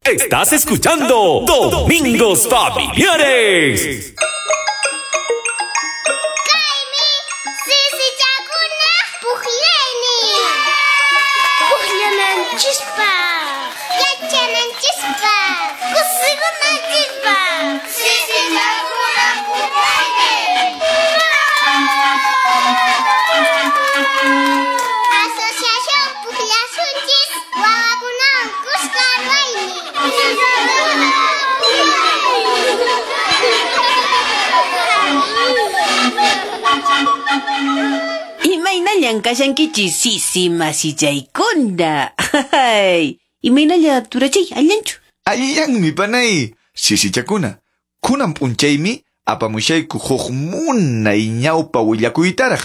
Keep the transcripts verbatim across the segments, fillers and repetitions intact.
Estás escuchando Domingos Familiares. Imaynallan kashankichis sisi masichaykuna. Imaynalla turachay allanchu. Allanmi panay sisichakuna. Kunan p'unchaymi apamushayku huk munay ñawpa willakuytaraq.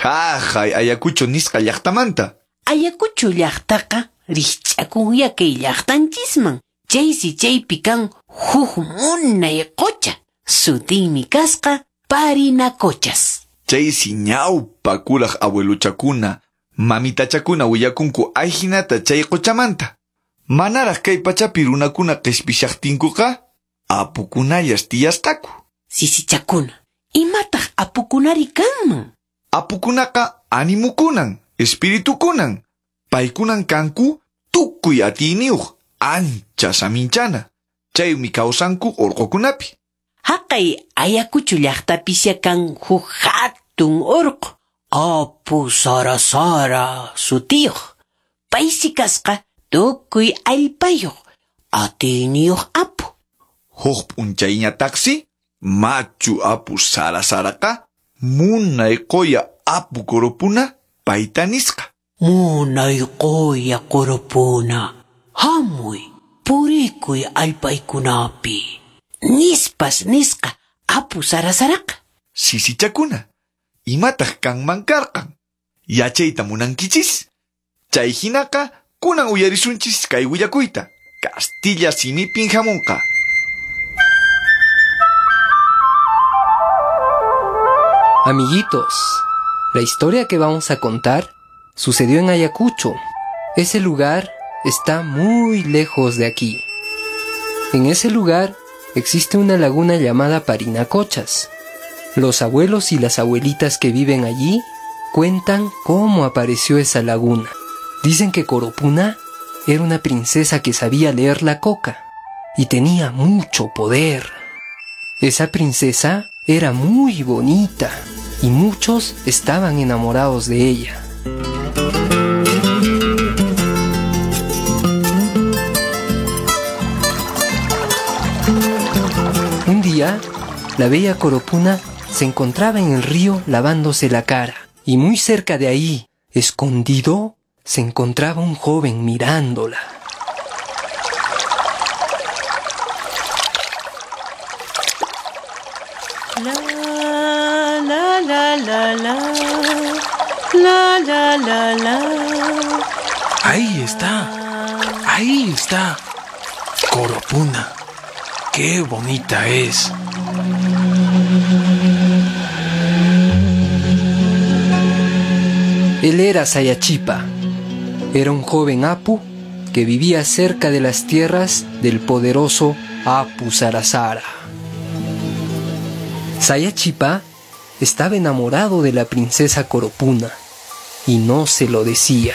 Haqay Ayacucho nisqa llaqtamanta. Ayacucho llaqtaqa rikch'akunya kay llaqtanchisman. Chaysi chaypi kan huk munay qucha. Sutinmi kasqa Parinacochas. Chaysi ñawpa kuraq abueluchakuna, mamitachakuna willakunku ayhinata chay quchamanta. Manaraq kay pachapi runakuna qhispishaqtinkuqa apukunallas tiyasqaku. Sisichakuna, imataq apukunari kanman? Apukunaqa animukunan, espiritukunan. Paykunan kanku tukuy atiyniyuq, ancha saminchana. Chaymi kawsanku urqukunapi. Haqay Ayacucho llaqtapisya kan huk hatun urqu, Apu Sarasara sutiyuq. Paysi kasqa tukuy allpayuq, atiyniyuq apu. Huk p'unchayñataqsi machu Apu Sarasaraqa munay quya Apu Coropuna payta nisqa. Munay quya Coropuna, hamuy purikuy allpaykunapi. Nispas nisqa Apu Sarasaraqa. Sisichakuna, imataq kanman karqan? Yachayta munankichis? Chay hinaqa kunan uyarisunchis kay willakuyta. Castilla simipin hamunqa. Amiguitos, la historia que vamos a contar sucedió en Ayacucho. Ese lugar está muy lejos de aquí. En ese lugar existe una laguna llamada Parinacochas. Los abuelos y las abuelitas que viven allí cuentan cómo apareció esa laguna. Dicen que Coropuna era una princesa que sabía leer la coca y tenía mucho poder. Esa princesa era muy bonita y muchos estaban enamorados de ella. Un día, la bella Coropuna se encontraba en el río lavándose la cara, y muy cerca de ahí, escondido, se encontraba un joven mirándola. La, la, la, la, la, la, la, la, la. Ahí está, ahí está, Coropuna. ¡Qué bonita es! Él era Sayachipa. Era un joven apu que vivía cerca de las tierras del poderoso Apu Sarasara. Sayachipa estaba enamorado de la princesa Coropuna y no se lo decía.